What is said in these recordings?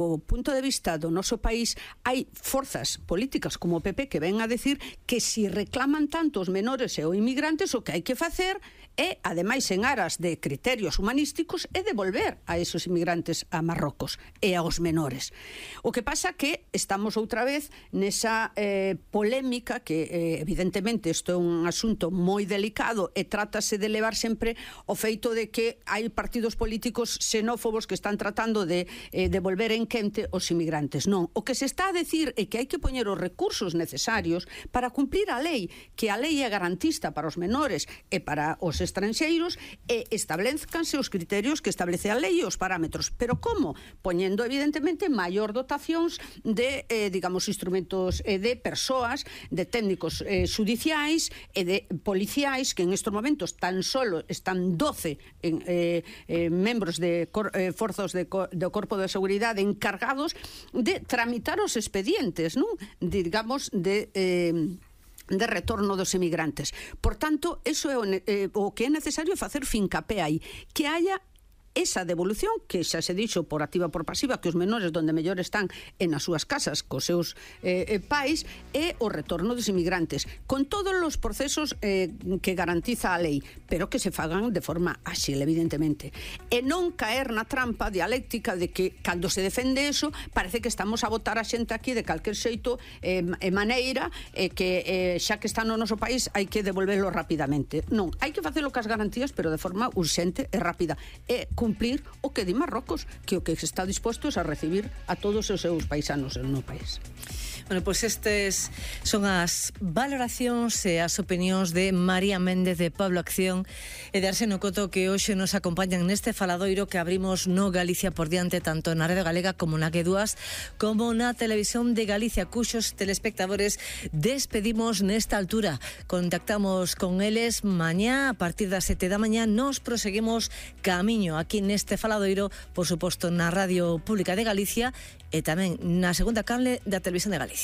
o punto de vista do noso país, hai forzas políticas como o PP que ven a decir que si reclaman tanto os menores e os inmigrantes, o que hai que facer é, ademais en aras de criterios humanísticos, é devolver a esos inmigrantes a Marrocos e aos menores. O que pasa que estamos outra vez nesa polémica que, evidentemente, isto é un asunto moi delicado e trátase de levar sempre o feito de que hai partidos políticos xenófobos que están tratando de devolver en quente os inmigrantes. Non, o que se está a decir é que hai que poñer os recursos necesarios para cumplir a lei, que a lei é garantista para os menores e para os estranxeiros, e establezcanse os criterios que establece a lei e os parámetros. Pero como? Poñendo, evidentemente, maior dotacións de, digamos, instrumentos de persoas, de técnicos xudiciais e de policiais, que en estes momentos tan solo están 12 membros de forzos do Corpo de Seguridade encargados de tramitar os expedientes, non? Digamos, de retorno dos emigrantes. Por tanto, eso é o que é necesario facer fincapé aí, que haya esa devolución, que xa se dixo por activa por pasiva, que os menores donde mellor están en as súas casas cos seus pais, e o retorno dos inmigrantes, con todos os procesos que garantiza a lei, pero que se fagan de forma áxil, evidentemente, e non caer na trampa dialéctica de que, cando se defende eso, parece que estamos a botar a xente aquí de calquer xeito e maneira, que xa que está no noso país hai que devolverlo rapidamente. Non, hai que facelo cas garantías, pero de forma urxente e rápida, e cumplir o que di Marrocos, que o que está disposto é a recibir a todos os seus paisanos no país. Bueno, pois estes son as valoracións e as opinións de María Méndez, de Pablo Acción e de Arseno Coto, que hoxe nos acompañan neste faladoiro que abrimos no Galicia por diante, tanto na Radio Galega como na G2, como na Televisión de Galicia, cuxos telespectadores despedimos nesta altura. Contactamos con eles mañá a partir das 7 da mañá. Nos proseguimos camiño aquí neste faladoiro, por suposto na Radio Pública de Galicia e tamén na segunda canle da Televisión de Galicia.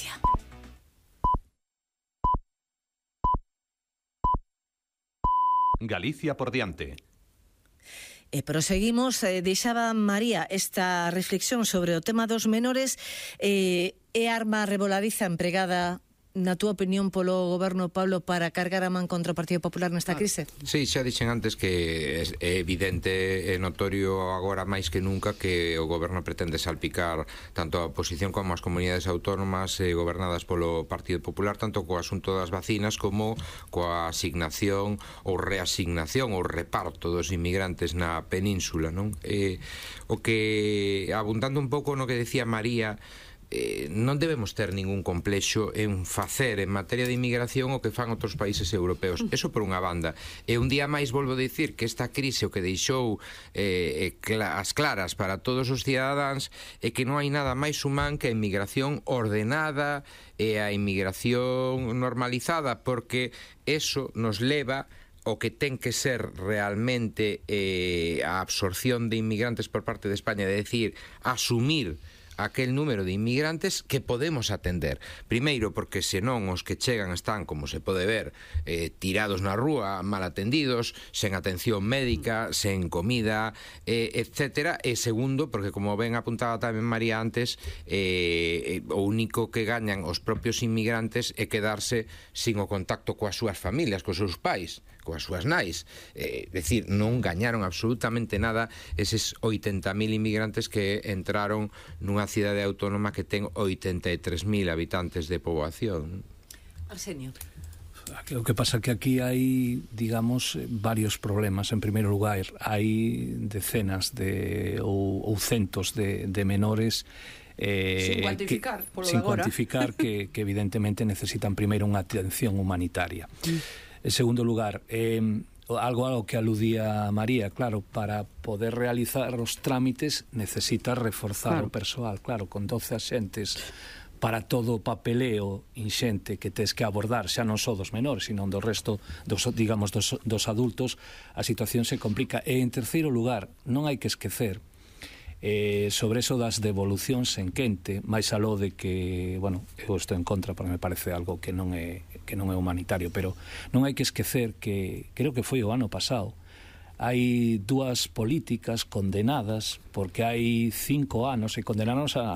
Galicia por diante. E proseguimos, deixaba María esta reflexión sobre o tema dos menores, e arma revoladiza empregada, na túa opinión, polo goberno, Pablo, para cargar a man contra o Partido Popular nesta crise? Sí, xa dixen antes que é evidente e notorio agora máis que nunca que o goberno pretende salpicar tanto a oposición como as comunidades autónomas gobernadas polo Partido Popular, tanto co asunto das vacinas como coa asignación ou reasignación ou reparto dos inmigrantes na península, non? O que, abundando un pouco no que decía María, non debemos ter ningún complexo en facer en materia de inmigración o que fan outros países europeos. Eso por unha banda. E un día máis volvo a dicir que esta crise o que deixou as claras para todos os cidadáns é que non hai nada máis humán que a inmigración ordenada e a inmigración normalizada, porque eso nos leva o que ten que ser realmente a absorción de inmigrantes por parte de España, de decir, asumir aquel número de inmigrantes que podemos atender. Primeiro, porque senón os que chegan están, como se pode ver, tirados na rúa, mal atendidos, sen atención médica, sen comida, etcétera. E segundo, porque como ben apuntaba tamén María antes, o único que gañan os propios inmigrantes é quedarse sin o contacto coas súas familias, cos seus pais, coas súas nais. Decir, non gañaron absolutamente nada eses 80.000 inmigrantes que entraron nunha cidade autónoma que ten 83.000 habitantes de poboación. Arsenio. O que pasa que aquí hai, digamos, varios problemas. En primeiro lugar, hai decenas ou centos de menores sin cuantificar, que evidentemente necesitan primeiro unha atención humanitaria. En segundo lugar, algo que aludía María, claro, para poder realizar os trámites necesita reforzar o persoal, claro, con 12 axentes para todo o papeleo inxente que tes que abordar, xa non só dos menores, sino do resto dos adultos, a situación se complica. E en terceiro lugar, non hai que esquecer sobre eso das devolucións en quente, máis aló de que, bueno, eu estou en contra porque me parece algo que non é humanitario, pero non hai que esquecer que creo que foi o ano pasado hai dúas políticas condenadas porque hai 5 anos e condenaron a